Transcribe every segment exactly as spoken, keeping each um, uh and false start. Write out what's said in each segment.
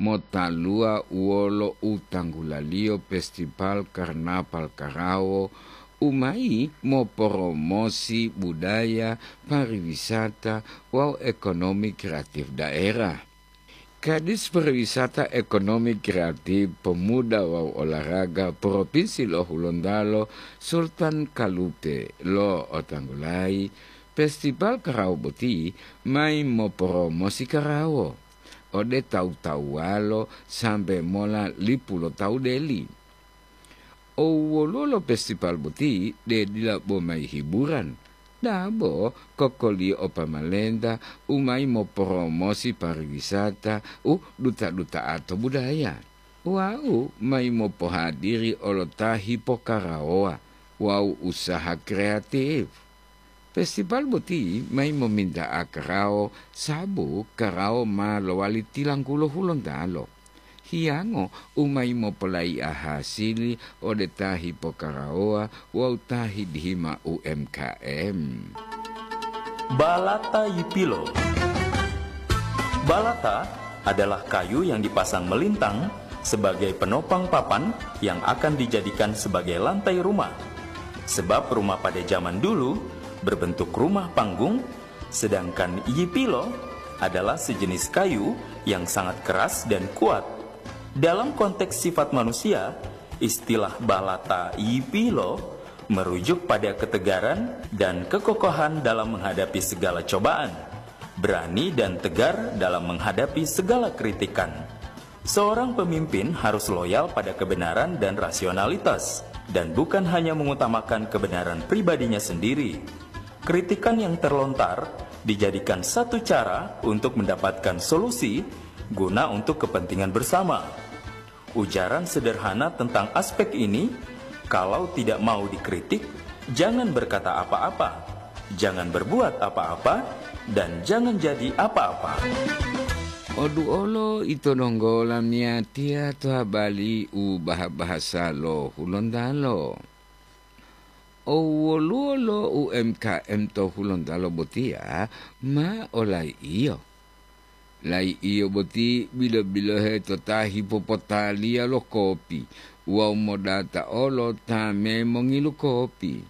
motaluwa wolo u tanggulaliyo Festival Karnaval Karawo u mayi moporomosi budaya, pariwisata wawu ekonomi kreatif daerah. Kadis Pariwisata, Ekonomi Kreatif, Pemuda wawu Olahraga Provinsi lo Hulontalo, Sultan Kalupe, lo'otanggulayi festival karawo boti mayi moporomosi karawo ode tawu-tawuwalo sambe mola lipu lo tawu deli. Owoluwo lo festival boti de dila bo mayi hiburan, dabo kokoliyo o pamalenta u mayi moporomosi pariwisata u duta-duta'a to budaya, wawu mayi mopohadiri olo ta hipokarawowa wawu usaha kreatif. Festival boti mayi mominta'a karawo, sabu karawo ma lowali tilanggulo Hulontalo. Hiyango u mayi mopolai'a hasili ode ta hipokarawowa wawu ta hidihima U M K M. Balata Yipilo. Balata adalah kayu yang dipasang melintang sebagai penopang papan yang akan dijadikan sebagai lantai rumah. Sebab rumah pada zaman dulu berbentuk rumah panggung, sedangkan yipilo adalah sejenis kayu yang sangat keras dan kuat. Dalam konteks sifat manusia, istilah balata yipilo merujuk pada ketegaran dan kekokohan dalam menghadapi segala cobaan, berani dan tegar dalam menghadapi segala kritikan. Seorang pemimpin harus loyal pada kebenaran dan rasionalitas, dan bukan hanya mengutamakan kebenaran pribadinya sendiri. Kritikan yang terlontar dijadikan satu cara untuk mendapatkan solusi guna untuk kepentingan bersama. Ujaran sederhana tentang aspek ini, kalau tidak mau dikritik, jangan berkata apa-apa, jangan berbuat apa-apa, dan jangan jadi apa-apa. Oduolo ito donggo lamiyatiya to habali u baha-bahasa lo Hulontalo. Owoluwo lo U M K M to Hulontalo botiya ma olai'iyo. Lai'iyo boti bilo-bilohe to ta hipopotaliya lo kopi wawu modata olo ta memongilu kopi.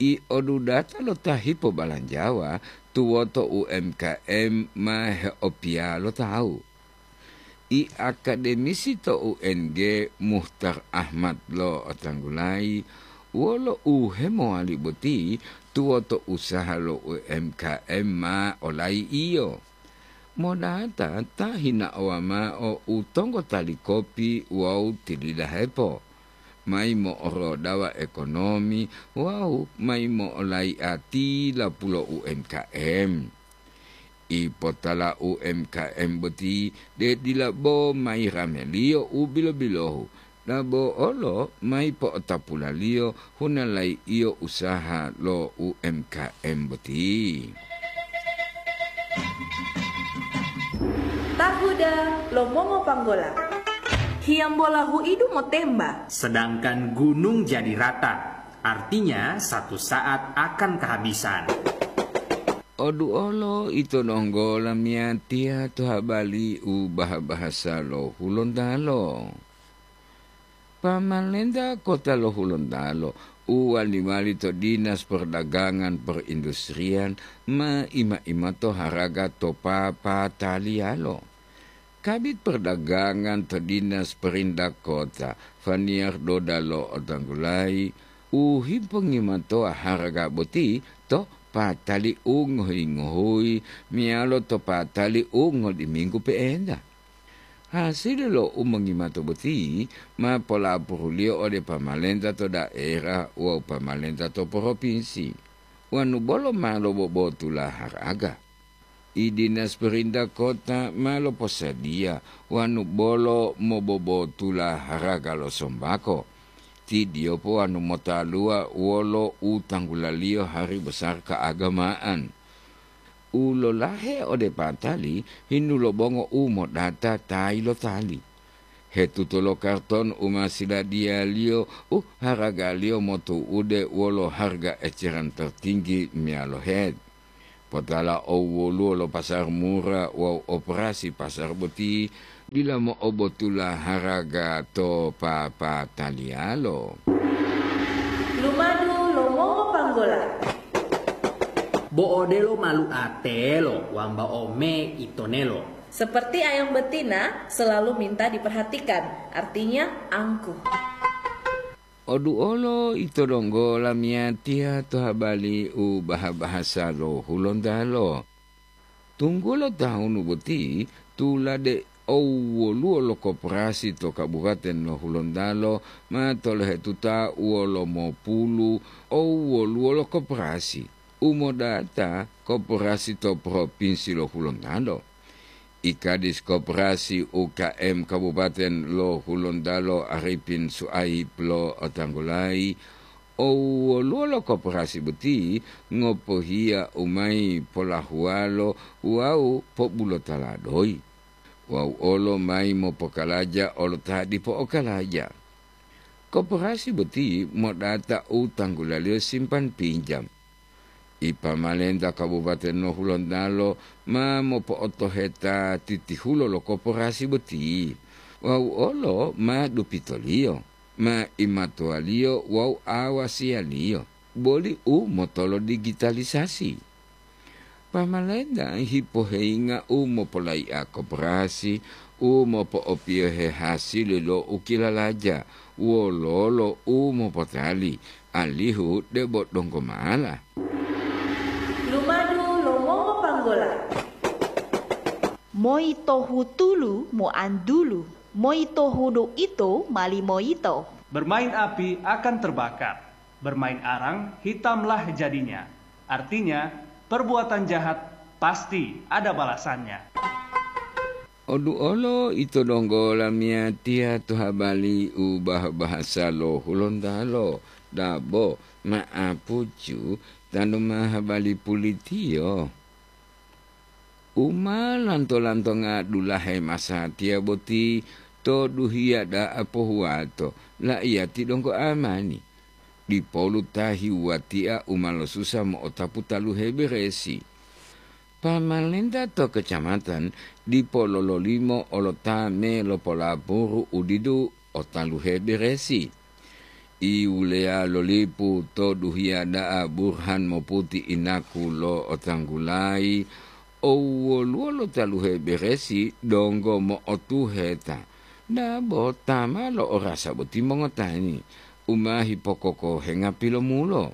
I odudata lo ta hipobalanjawa tuwoto U M K M ma heopiya lo tawu. I akademisi to U N G, Muhtar Ahmad, lo'otanggulayi wolo u hemowali boti tuwoto usaha lo U M K M ma olai'iyo. Modata ta hinaowa mao u tonggotali kopi wawu tilidahepo, mayi mo'orodawa ekonomi wawu mayi mo'olai'a tilapulo U M K M. Ipotala U M K M boti de dila bo mayi rameliyo u bilo-bilohu, dabo olo mayi po'otapulaliyo hunalai'iyo usaha lo U M K M boti. Tahuda lo mongo panggola. Hiyambola huidu motemba. Sedangkan gunung jadi rata, artinya satu saat akan kehabisan. Oduolo ito donggo lamiyatiya to habali u baha-bahasa lo Hulontalo. Pamalenta kota lo Hulontalo u wali-wali to Dinas Perdagangan Perindustrian ma ima-imato haraga to papataliyalo. Kabit Perdagangan to Dinas Perintah Kota, Faniar Doda lo'otanggulayi u hipongimatowa haraga boti to patali u ngohuyi-ngohuyi meyalo to patali u ngodiminggu pe'enta. Hasili lo u mongimato boti ma polapuruliyo ode pamalenta to daerah wawu pamalenta to poropinsi, wanu bolo ma lobobotula haraga. I Dinas Perintah Kota ma loposadiya wanu bolo mobobotula haraga lo sombako, tidiyopo wanu motaluwa wolo u tanggulaliyo hari besar keagamaan. U lolahe ode patali hinu lo bongo u modata tayi lo tali. Hetuto lo karton u ma siladiyaliyo u haragaliyo motu'ude wolo harga eceran tertinggi meyalo het. Potala owoluwo lo pasar mura wawu operasi pasar boti dila mo'obotula haraga to papataliyalo. Lumadu lo mongopanggola. Bo'odelo malu atelo wambao me itonelo. Seperti ayam betina selalu minta diperhatikan, artinya angkuh. Oduolo ito donggo lamiyatiya to habali u baha-bahasa lo Hulontalo. Tunggulo tahunu boti tulade owwoluwo lo koperasi to Kabupaten lo Hulontalo ma tolohetuta wolo mopulu owwoluwo lo koperasi u modata koperasi to Propinsi lo Hulontalo. I Kadis Koperasi U K M Kabupaten lo Hulontalo Arifin Suaib lo otanggulayi, owwoluwo lo koperasi boti ngopohiya u mayi polahuwalo wawu pobulotala doyi, wawu olo mayi mopokalaja olo ta dipo okalaja. Koperasi boti modata u tanggulaliyo simpan pinjam. I pamalenta Kabupaten lo Hulontalo ma mopo'otoheta titihulo lo koperasi boti, wawu olo ma dupitoliyo, ma imatuwaliyo wawu awasiyaliyo, boli u motolo digitalisasi. Pamalenta hipoheyinga u mopolayi'a koperasi u mopo'opiyohe hasili lo u kilalaja, wololo u mopotali, alihu debo donggo mala. Lumadu lo mongopanggola. Moyitohu tulu moantulu, moyitohu do ito mali moyito. Bermain api akan terbakar, bermain arang hitamlah jadinya. Artinya, perbuatan jahat pasti ada balasannya. Oduolo ito donggo lamiyatiya to habali u bah-bahasa lo Hulontalo, dabo, ma'apucu, tanu ma habali pulitiyo. U ma lanto-lantonga dulahe masatiya boti to duhiya da'a pohuwato, la'iyati donggo amani. Dipolu ta hiwuwatia u ma losusa mo'otapu taluhe beresi. Pamalenta to kecamatan dipo lololimo olo ta me lopolapuru u didu o taluhe beresi. I wuleya lo lipu to duhiya da'a Burhan moputi inaku lo otanggulayi, owwoluwo lo taluhe beresi donggo mo'otuheta, dabo ta ma lo'orasa boti mongotani, u ma hipokokohenga pilomulo.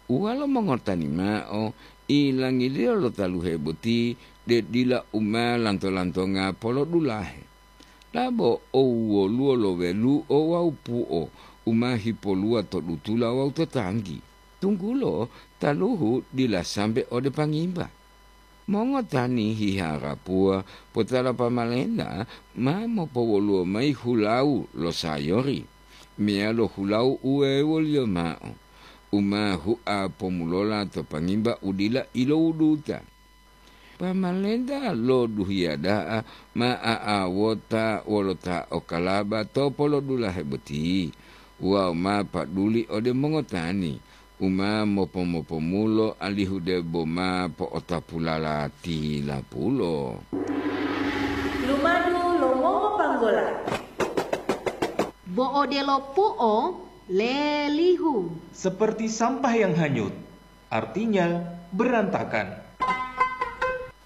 Uwalo mongotani mao, ilangiliyo lo taluhe boti de dila u ma lanto-lantonga polodulahe. Labo owwoluwo lo welu'o wawu pu'o u ma hipoluwa to dutula wawu to tanggi, tunggulo taluhu dila sambe ode pangimba. Mongotani hiharapuwa potala pamalenta ma mopowoluwo mayi hulawu lo sayori, meyalo hulawu u wewoliyo mao, u ma hua pomulola to pangimba u dila ilowuduta. Pamalenta lo duhiya da'a ma a'awota wolo ta okalaba to polodulahe boti wawu ma paduli ode mongotani u ma mopo-mopomulo alihu debo ma po'otapulala tilapulo. Lumadu lo mongopanggola. Bo odelo pu'o lelihu. Seperti sampah yang hanyut, artinya berantakan.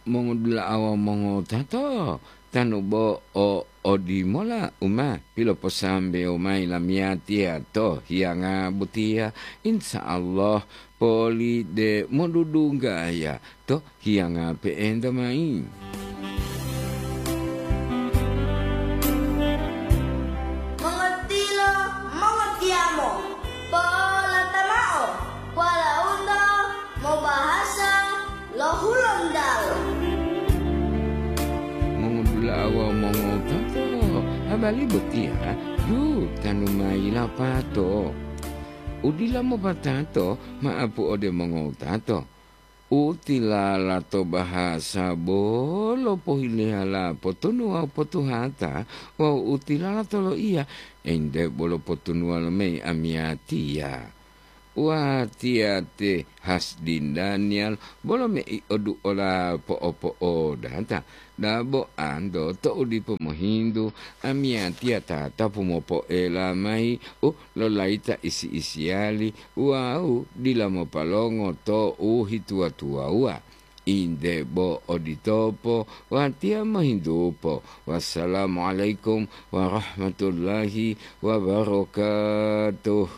Mongodula'a wawu mongotato, tanu bo o odimola u ma piloposambewo mayi lamiyatiya to hiyanga botiya, insya Allah poli de modudunggaya to hiyanga pe'enta mayi. Mongotilo, mongotiyamo, polata mao, polaunto mobahasa lo Hulontalo. Mongodula'a wawu mongotato, habari botiya yu tanu mayi lapato. Udila mopatato ma'apu ode mongotato. U tilala to bahasa bolo pohileyala potunu wawu potuhata, wawu u tilala to loiya, ente bolo potunuwa lomeyi amiyatiya. watiya te Hasdin Daniel, bolo mei oduola po'o-po'odata. Dabo anto to'u dipo mohintu, amiyatiya tatapu mopoela mayi u lolayita isi-isiyali wawu dila mopalongo to'u hituwa-tuwawuwa. Inde bo oditopo, watiya mohintupo. Wassalamualaikum warahmatullahi wabarakatuh.